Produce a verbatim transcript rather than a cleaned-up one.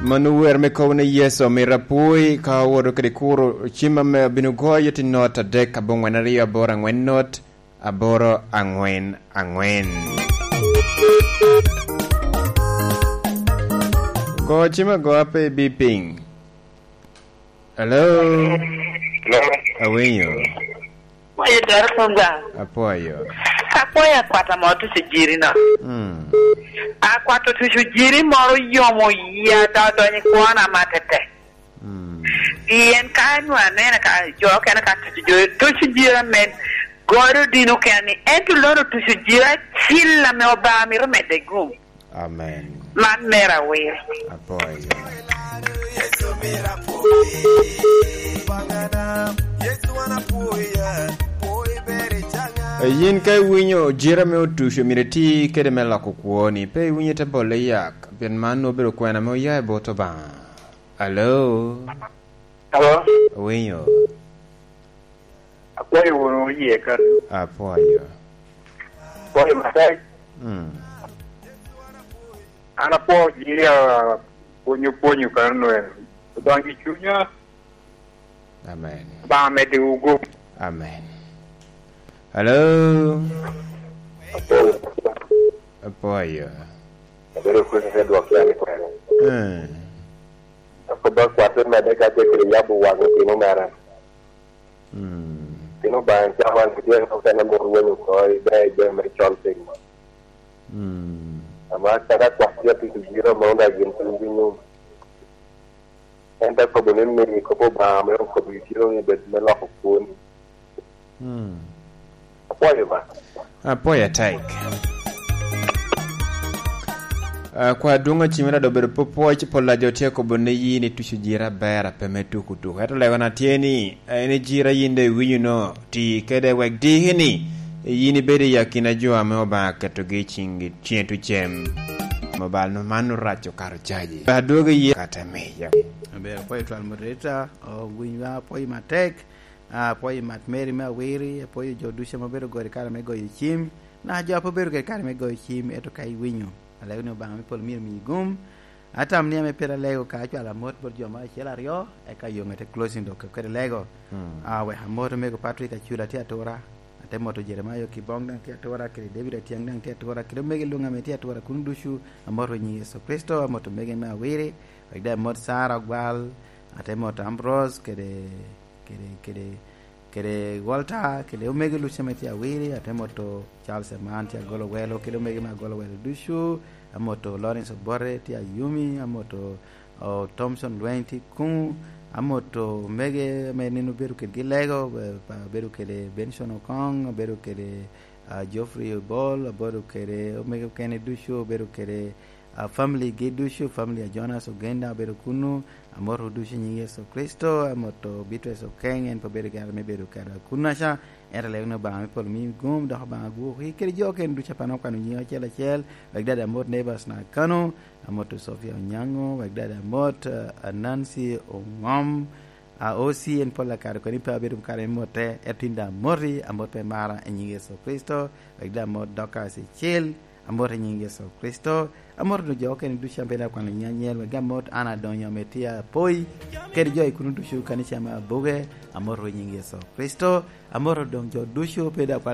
Mano wer me kobo ni Yecu omito apwoi ka owoto kede kuro cim ame abino goyo tye not adek aboŋwen aryo aboro aŋwen not aboro aŋwen aŋwen. Go cim agoa pe ibi piny. Hello? Hello? Awinyo. Apwoyo dero Pogwa. Apwoyo. Apwoyo akwat ame otuco jiri no. Mm. Akwat otuco jiri moro yomo yia da odonyo i kwona matete. Mm. Pien ka nwa aneno ka jo okene ka tuco jo, tuco jiri amen godo dino kena ni, ento lono tuco jiri acil ame Obaŋa mito medde gum. Amen. Man mera wir. Apwoyo. Eh, yin ka iwinyo jira me otuco, myero iti kede me loko kwoni. Pe iwinyo ite bole yak, pien man nwoŋo obedo kwena ame oya i bot Obaŋa. Alo? Alo? Awinyo. Akwayo wunu oye kan. Apwoyo. Akwayo matek. Mm. An apwoo ji a pwonyo pwonyo kan nwen. Obaŋa i cunya. Amen. Obaŋa medde wugo. Amen. Hello? Apwoyo. Apwoyo. Abedo kwene te dwok ya ni kwene. Eh. Akobo akwate medde ka te kede yabo waŋ otino mere. Mm. Pien Obaŋa cawa ni tye okene mot weny oko i ber jami me col piny. Mm. Ama kadi akwat tye atuco jiro ma onge gin piny winyo. En te kobo ni meri kop Obaŋa me okobo i jiro ni bed me loko kwoni. Mm. Apwoyo ba. Apwoyo atek. Ah, kwa adwoŋ acimera dok obedo pwopwoc, pol a jo tye akobo ni yin ituco jira aber ape me tuku tuku. Ento legona tye ni, en i jira yin doŋ iwinyo no, ti kede wek diki ni, yin ibedo i akina jo ame Obaŋa ketogi i ciŋgi, ciŋe tucem. Mobile no man orac okato caji. Adwogi ye kata me ya. Aber, apwoyo twal moderator, o, winywa apwoyo matek. Ah, apwoyo Mat Mary me Awiri, apwoyo jo ducu ame obedo goro i kare me goyo cim, naka jo a pe obedo kede kare me goyo cim, ento ka iwinyo, alego ni Obaŋa me polo myero omiyi gum. Atam ni ame pire alego ka acwalo amot bot jo mo acel aryo, eka yo ŋete closing dok kede lego. Mm. Ah, wek amot omego Patrick Acula tye atura, ate moto Jeremiah Okibong daŋ tye atura, kede David Atiang daŋ tye atura, kede omego Luŋ ame tye atura kuno ducu, amoto i nyiŋ Yecu Kricito, amoto omego me Awiri, wek daŋ amot Sarah Ogwal, ate moto Ambrose, kede kede, kede, kede Walter, kede omego Lucia ame tye Awiri, ate moto Charles Eman tye Agolowelo, kede omego me Agolowelo ducu, amoto Lawrence Obote tye Ayumi, amoto, o, Thomson Lweny tye kuŋ, amoto omege ame nino obedo kedgi lego, be-, pa-, abedo kede Benson Okong, abedo kede, ah, Geoffrey Obol, abedo kede omege okene ducu, abedo kede, ah, family gi ducu, family a Jonas Ogenda obedo kuno, amoto ducu i nyiŋ Yecu Kricito, amoto Beatrice Okeng, en pe obedo gere me bedo kede kunaca, ento alego ni Obaŋa me polo mi gum, dok Obaŋa gwoki, kede jo okene ducu a pe an okwano nyiŋ acel acel, wek dada amot Neighbors na Kano, amoto Sofia Onyango, wek dada amot, ah, Nancy Ongom, a O C en pol akare koni pe abedo kare me motte, ento tin daŋ amoti, amot pe mara i nyiŋ Yecu Kricito, wek daŋ amot Dorcas Icil, amot i nyiŋ Yecu Kricito, amot onyo jo okene ducu ame pe daŋ okwano nyiŋ anyel, wek daŋ amot an adonyo ame tye apoi, kede jo i kuno ducu kanica me Abuge, amot i nyiŋ Yecu Kricito, amot doŋ jo ducu pe daŋ okwano